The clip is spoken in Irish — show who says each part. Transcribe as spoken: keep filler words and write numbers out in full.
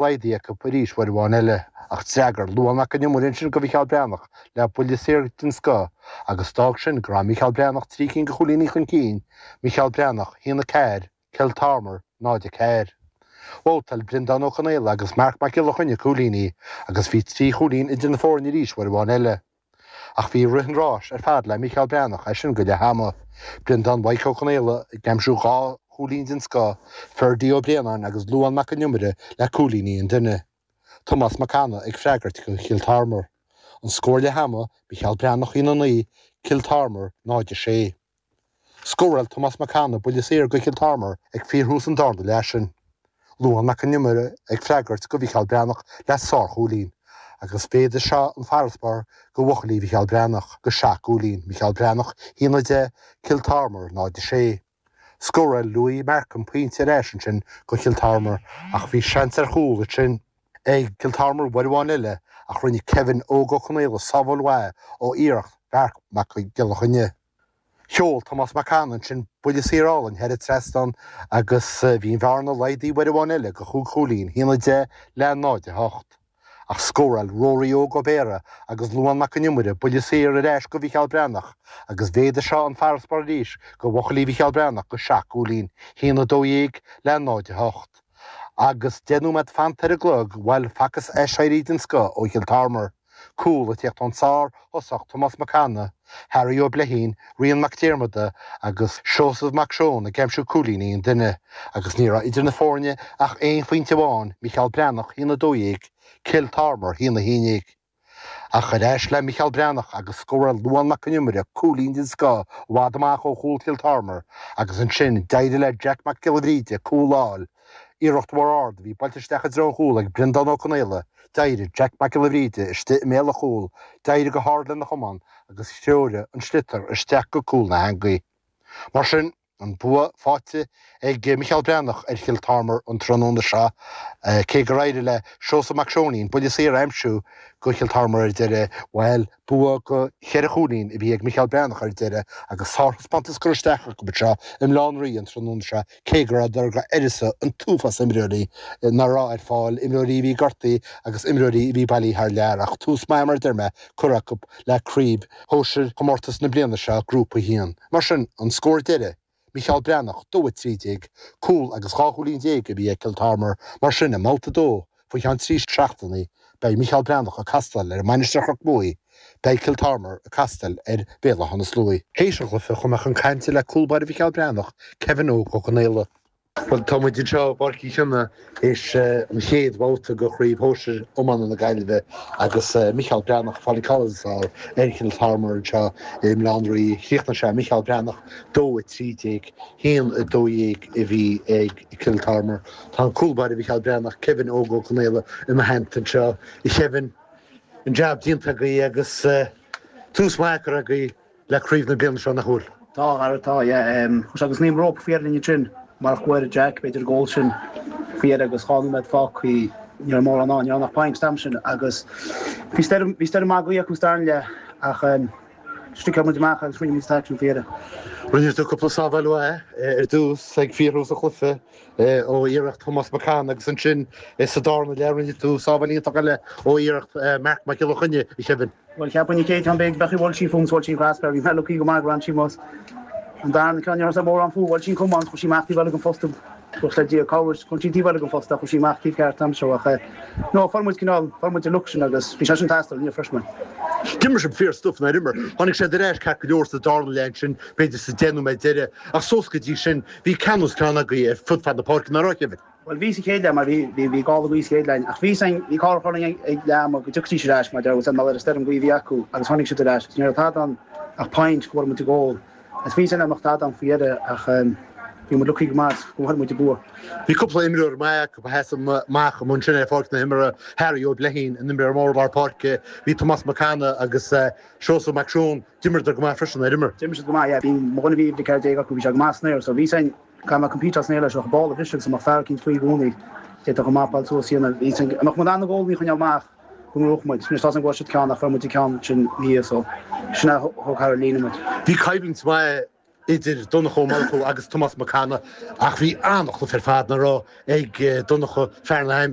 Speaker 1: Laghdaithe acu arís uair amháin eile, ach d'fhreagair Luán Mac an Iomaire ansin do Mhícheál Breathnach le buille saor den scoth agus d'fhág sin go raibh Mícheál Breathnach trí cinn de chúilíní chun cinn, Mícheál Breathnach, a haon a ceathair, Cill Tearmair, náid a ceathair. Bhabhtáil Breandán Ó Conaola agus Marc Mac Giolla Chainnigh cúilíní agus bhí trí chúilín idir na foirne arís uair amháin eile. Ach bhí rith an ráis ar fad le Mícheál Breathnach as sin go leath ama. Breandán Mhaidhc Ó Conaola ag aimsiú dhá chúilín den scoth, Ferdí Ó Braonáin agus Luán Mac an Iomaire le cúilíní an duine. Tomás Mac Anna ag freagairt do Chill Tearmair. An scór leath ama, Mícheál Breathnach a haon a naoi, Cill Tearmair náid a sé. Scóráil Tomás Mac Anna buille saor do Chill Tearmair ag fíorthús an darna leath sin. Luán Mac an Iomaire ag freagairt do Mhícheál Breathnach le sárchúilín, agus mhéadaigh seo an farasbarr do bhuachaillí Mhícheál Breathnach go seacht gcúilín, Mícheál Breathnach a haon a deich, Cill Tearmair náid a sé. Scóráil Louis Markham pointe ar ais ansin do Chill Tearmair ach bhí seans ar chúl ansin ag Cill Tearmair uair amháin eile ach rinne Kevin Óg Ó Conaola sábháil mhaith ó iarracht Mharc Mac Giolla Chainnigh. Sheol Tomás Mac Anna ansin buille saor álainn thar an trasnán agus bhí an bhearna laghdaithe uair amháin eile go chúig chúilín, a haon a deich le náid a hocht. Ach scóráil Rory Óg Ó Béarra agus Luán Mac an Iomaire buille saor ar ais do Mhícheál Breathnach agus mhéadaigh seo an farasbarr arís do bhuachaillí Mhícheál Breathnach go seacht gcúilín, a haon a dó dhéag le náid a hocht. Agus deich nóiméad fanta ar an gclog, bhuel, facthas aiséirí den scoth ó Chill Tearmair. Cúl ag tíocht ón sárthosach Tomás Mac Anna, Harry Ó Bleithín, Rian Mac Diarmada agus Seosamh Mac Seoin ag aimsiú cúilíní an duine, agus ní raibh idir na foirne ach aon phointe amháin, Mícheál Breathnach a haon a dó dhéag, Cill Tearmair a haon a haon déag. Ach ar ais le Mícheál Breathnach agus scóráil Luán Mac an Iomaire cúilín den scoth i bhfad amach ó chúl Chill Tearmair agus ansin d'éirigh le Jack Mac Giolla Bhríde cúl a fháil. Iarracht mhór ard a bhí buailte isteach i dtreo an chúil ag Breandán Ó Conaola, d'éirigh Jack Mac Giolla Bhríde istigh i mbéal an chúil, d'éirigh go hard lena chamán agus threoraigh an sliotar isteach go cúl na heangaí. Mar sin, an bua faighte ag Mícheál Breathnach ar Chill Tearmair an tráthnóna seo, cé gur éirigh le Seosamh Mac Seoinín buille saor a aimsiú do Chill Tearmair ar deireadh, bhuel, bua de cheithre chúilín a bhí ag Mícheál Breathnach ar deireadh agus sárthaispeántas curtha isteach acu anseo i mBaile Átha an Rí an tráthnóna seo, cé go rabhadar d'uireasa an t-uafás imreoirí nach raibh ar fáil, imreoirí a bhí gortaithe agus imreoirí a bhí bailithe thar lear, ach tús maith mar a deir mé curtha acu le craobh shóisir chomórtas na bliana seo, Grúpa a haon. Mar sin, an scór deiridh, Mícheál Breathnach, dó a trí déag, cúl agus dhá chúilín déag a bhí ag Cill Tearmair, mar sin i mbabhta a dó, faoi cheann trí seachtainí, beidh Mícheál Breathnach ag castáil ar Mhainistir Chnoc Muaidhe, beidh Cill Tearmair ag castáil ar Bhéal Átha na Sluaighe. Théis an chluiche chuaigh mé chun cainte le cúl báire Mhícheál Breathnach, Kevin Óg Ó Conaola. Bhuel, tá muid anseo i bPáirc Uí Chionnaith théis an chéad bhabhta de Chraobh Shóisir Iomána na Gaillimhe agus Mícheál Breathnach ag fáil an ceann is fearr ar Chill Tearmair anseo i mBaile Átha an Rí. Chríochnaigh sé Mícheál Breathnach dó a trí déag, haon a dó dhéag a bhí ag Cill Tearmair. Tá an cúl báire Mhícheál Breathnach, Kevin Óg Ó Conaola i mo theannta anseo. A Kevin, an jab déanta agaibh agus tús maith curtha agaibh le craobh na bliana seo, nach bhfuil?
Speaker 2: Tá, a Dhara, tá, yeah. Chuir sé agus naoi rópa faoi linn ansin, marach go bhfuair Jack, b'fhéidir, an gól sin faoi dheireadh agus dhá nóiméad fágtha, ní raibh mórán ann, ní raibh ach point an t-am sin agus bhí stoirm, bhí stoirm maith gaoithe acu sa darna leath ach sticeáil muid amach agus rinne muid an t-aicsean faoi dheireadh.
Speaker 1: Rinne tú cúpla sábháil mhaith ar dtús ag fíorthús an chluiche ó iarracht Thomás Mac Anna agus ansin sa darna leath rinne tú sábháil iontach eile ó iarracht Marc Mac Giolla Chainnigh, a Kevin.
Speaker 2: Bhuel, cheapfainn an chéad cheann b'fhéidir bheadh bhuail sí fúm 's bhuail sí an crossbar, bhí mé lucky go maith gur fhan sí amuigh. An darna ceann ní raibh mórán fúm, bhuail sí an camán, chuaigh sí amach taobh eile den phosta, buíochas le Dia, cabhair, chuaigh sí taobh eile den phosta, chuaigh sí amach taobh ceart an t-am seo ach eh, no, fuair muid cineál, fuair muid an luck sin agus bhí sé sin ag teastáil inniu freisin.
Speaker 1: D'imir sibh fíor stuif, nár imir? Tháinig siad ar ais ceart go leor sa darna leath ansin, b'fhéidir sa deich nóiméad deiridh, ach suas go dtí sin, bhí ceann os cionn agaibh ar fud fad na páirce, nach raibh, Kevin?
Speaker 2: Bhuel, bhí sa chéad leath mar bhí, bhí, bhí gála gaoithe sa chéad leath ach bhí san, bhí cár chur ag, ag leath ama go dtiocfaidís ar ais mar deir san mar ar an stoirm gaoithe a bhí acu agus tháinig siad ar ais agus ní raibh tada ann ach point go bhfuair muid an gól agus bhí san amach tada ann faoi dheireadh ach bhí muid lucky go maith go bhfuair muid an bua.
Speaker 1: Bhí cúpla imreoir maith acu a sheas amach amuigh ansin ar pháirc na himeartha, Harry Ó Bleithín, an imreoir mór lár páirce, bhí Tomás Mac Anna agus Seosamh Mac Seoin, d'imríodar go maith freisin, ar imir?
Speaker 2: D'imir siad go maith, yeah. Bhí mo dhuine bhí uimhir a ceathair déag acu, bhí sé go maith san aer so bhí san Caithfidh mé compete as an aer leis ach ball a bhriseadh agus an mbeadh fear eicínt faoi i gcónaí. D'fhéadfadh an mapáil suas a dhéanamh. Bhí an mbeadh muid in ann na goalaí a choinneáil amach go ngnóthódh muid. Anois tá a fhios agam go bhfuair siad ceann ach fuair muid an ceann sin ina dhiaidh so sin é a thug thar an líne muid.
Speaker 1: Bhí coimhlint mhaith idir Donncha Ó Murchú agus Tomás Mac Cana ach bhí an-chluiche ar fad na rá ag Donncha fear na